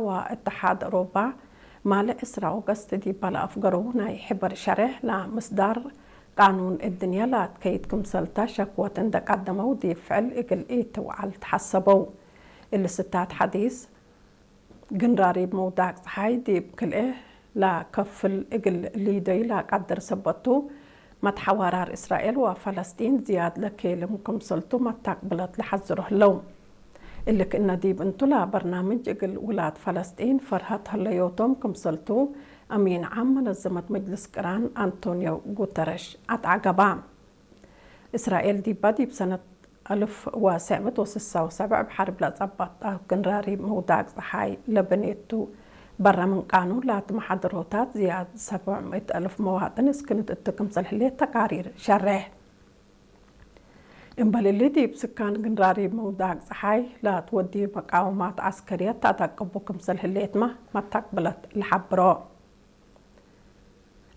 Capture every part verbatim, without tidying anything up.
ወእትሓድ አውሮባ፣ ማል ዕስራ ኦገስት ዲብ ለአፍገረው ናይ ሕበር ሸሬሕ ለምስዳር ቃኑን እድንየ ለአትከይድ ክምሰልተ ሸክወት እንደ ቀደመው፣ ዲብ ፍዕል እግል ኢትውዓል ተሐሰበው። እሊ ስታት ሐዲስ፣ ግንራሪብ መውዳቅ ጸሓይ ዲብ ክልኤ ለከፍል እግል ሊደዩ ለቀድር ሰበት ቱ፣ መትሐዋራር እስራኤል ወፈለስጢን ዝያድ ለኬልም ክምሰልቱ መታቅብለት ለሐዝሮ ህለው። እሊ ክእነ ዲብ እንቱ ለበርናምጅ እግል ውላድ ፈለስጢን ፈርሀት ህለዮቶም ክምሰልቱ፣ አሚን ዓም መነዘመት መጅልስ ቅራን አንቶኒዮ ጉተረሽ አትዐገባ። እስራኤል ዲባ ዲብ ሰነት አልፍ ወሰዕ ምእት ወስሳ ወሰብዕ እብ ሐርብ ለጸበጠ ግንራሪብ መውዳቅ ጸሓይ ለበኔቱ፣ በረ ምን ቃኑን ለአትመሓደሮታት ዝያድ ሰብዕ ምእት አልፍ መዋጥን እስክንት እቱ ክምሰል ህሌት ተቃሪር ሸሬሕ። እምበል እሊ፣ ዲብ ስካን ግንራሪብ መውዳቅ ጸሓይ ለአትወድዩ መቃወማት ዐስከርየት ተአደቅቡ ክምሰል ህሌትመ መታቅብለት ለሐብሮ።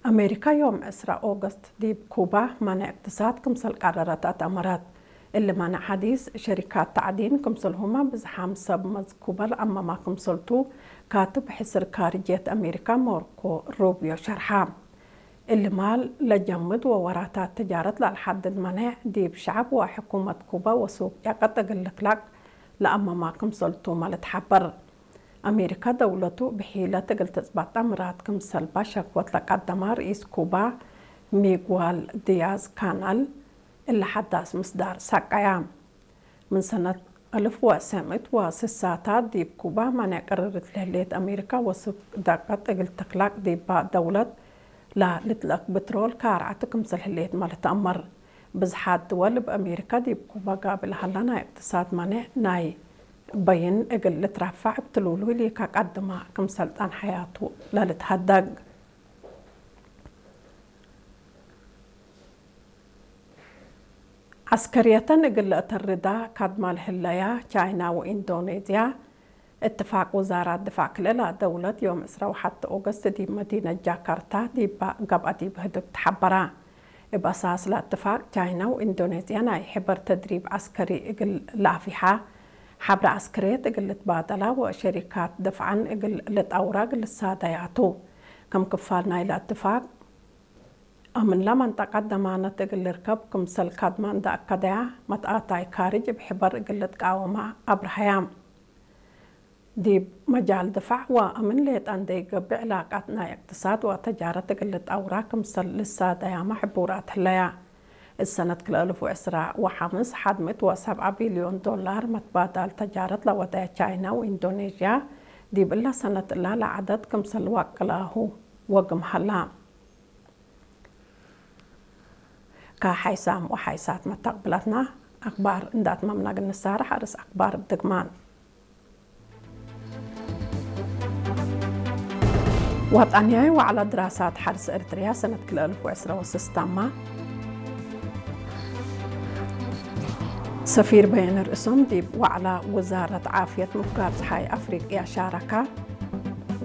አሜሪካ ዮም ዕስራ ኦገስት ዲብ ኩባ ማንዕ እቅትሳድ ክምሰል ቀረረት አትአመረት። እሊ ማንዕ ሐዲስ ሸሪካት ተዕዲን ክምሰልሁመ ብዝሓም ሰብ መዝኩበ ለአመማ ክምሰልቱ፣ ካትብ ሕስር ካርጅየት አሜሪካ ሞርኮ ሩብዮ ሸርሐ። እሊ ማል ለጀምድ ወወራታት ትጃረት ለአልሐድድ ማንዕ፣ ዲብ ሸዐብ ወሕኩመት ኩባ ወሱቅ ጨቀጥ እግል ልክላቅ ለአመማ ክምሰልቱመ ልትሐበር። አሜሪካ ደውለቱ ብሒለት እግል ትጽበጠ ምራድ ክምሰልባ ሸክወት ለቀደመ ርኢስ ኩባ ሚግዋል ዲያዝ ካናል፣ እሊ ሐዳስ ምስዳር ሰቀያ። ምን ሰነት አልፍ ወሰዕ ምእት ወስሳታት ዲብ ኩባ ማንዕ ቅርርት ለህሌት አሜሪካ ወሱቅ ደቀጥ እግል ትክላቅ ዲባ ደውለት ለልትለቅ ብትሮል ካርዐት ክምሰል ህሌትመ ልትአመር። ብዝሓት ድወል እብ አሜሪካ ዲብ ኩባ ጋብእ ለሀላ ናይ እቅትሳድ ማንዕ ናይ በይን እግል ልትረፈዕ እብ ትሉሉይ ሊከ ቀድመ ክምሰል ጣን ሐያቱ ለልትሀደግ። ዐስከርየተን እግል ለአተርዳ ካድማ ለህለያ ቻይና ወኢንዶኔዝያ፣ እትፋቅ ውዛራት ድፋዕ ክልኤ ደውለት ዮም ዕስራ ወሐቴ ኦገስት ዲብ መዲነት ጃካርታ ዲብ ገብአ ዲብ ህድግ ተሐበራ። እብ አሳስ ለእትፋቅ፣ ቻይና ወኢንዶኔዝያ ናይ ሕበር ተድሪብ ዐስከሪ እግል ለአፊሓ፣ ሐብረ ዐስከርየት እግል ልትባደላ ወሸሪካት ደፍዐን እግል ልጠውራ እግል ልሳደያ ቱ። ከም ክፋል ናይለ እትፋቅ፣ አምንለ መንጠቀት ደማነት እግል ልርከብ ክምሰል ካድማ እንደ አከደያ፣ መትአታይ ካርጅ እብ ሕበር እግል ልትቃወማ አብርሀያ። ዲብ መጃል ድፋዕ ወአምን ሌጠ እንዴ ኢገብእ፣ ዕላቃት ናይ እቅትሳድ ወተጃረት እግል ልጠውራ ክምሰል ልሳደያመ ሕቡራት ህለያ። እት ሰነት ክልኤ አልፍ ወዕስራ ወሐምስ፣ ሐድ ምእት ወሰብዓ ቢልዮን ዶላር መትባዳል ተጃረት ለወደየ ቻይና ወኢንዶኔዥያ፣ ዲብ እለ ሰነት እላ ለዐደት ክምሰል ወቅላሁ ወግም ሀላ። ከሐይሳም ወሐይሳት መተቅብለትና አክባር እንደ አትመምና እግል ንሳረሕ፣ አርእስ አክባር እብ ድግማን። ወጠንያይ ወዐለ ድራሳት ሐርስ ኤርትርያ ሰነት ክልኤ አልፍ ወዕስራ ወስስ ታማ። ሰፊር በየነ ርእሶም ዲብ ወዐለ ውዛረት ዓፍየት ምፍጋር ጸሓይ አፍሪቅያ ሻረካ።